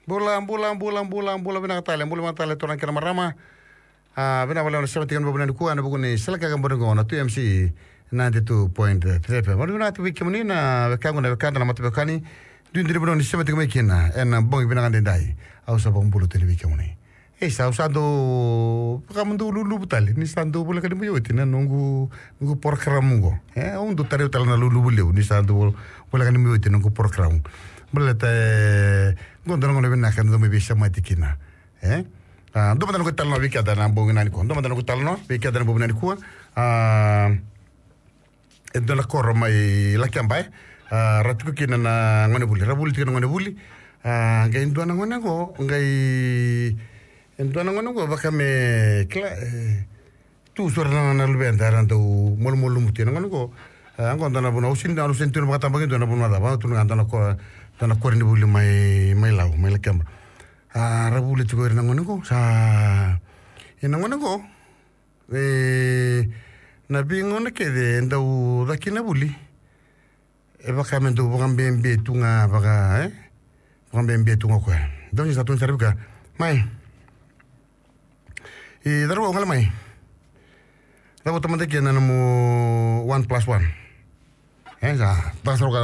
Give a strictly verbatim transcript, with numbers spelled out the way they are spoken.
Bula, bula, bula, bula, bula, vinaka tale, bula vinaka tale, turaga kei na marama. A, vinaka vakalevu na sema tiko mai nikua, ena vuku ni sala kaka bore qo na two M C ninety-two point three F M. Vinaka tiko vei kemuni na wekaqu, na wekada, na mataveiwekani. Duidui ni vanua ni sema tiko mai kina ena bogi vinaka daidai. Au sa vakabula tale vei kemuni. E sa, au sa dau, vaka mo dau luluvu tale, ni sa dau voleka ni mai oti na noqu, noqu porokaramu qo. E, au dau tarai au tale na luluvu levu, ni sa dau voleka ni mai oti na noqu porokaramu. Baleta, e, qo dua na gauna vinaka, dau mai veisemati kina. E? A, dua mada noqu italanoa vei keda ena bogi nikua. Dua mada noqu italanoa vei keda ena bogi nikua. A, e dua na koro mai Lakeba, e. A, ra tiko kina na gonevuli, ra vuli tiko na gonevuli. A, qai dua na gone qo, qai, e dua na gone qo, vaka me, kila, e, tu sara na, na luveda, era dau malumalumu tu na gone qo. A, qo dua na vanua, au sega ni, au sega ni tu na vakatabakidua na vanua cava, tu na dua na ko, dua na koronivuli mai, mai Lau, mai Lakeba. A, ra vuli tiko ira na gone qo, sa, e na gone qo, e, na veigauna kece e dau caka na vuli. E vaka me dau vakabebe tu ga vaka, e? Vakabebe tu ga o koya. Dau ni sa tu ni sa ra vaka. Mai. E, cauravou, gole mai. Cavuta mada kina na nomu one plus one. E, sa, ta sara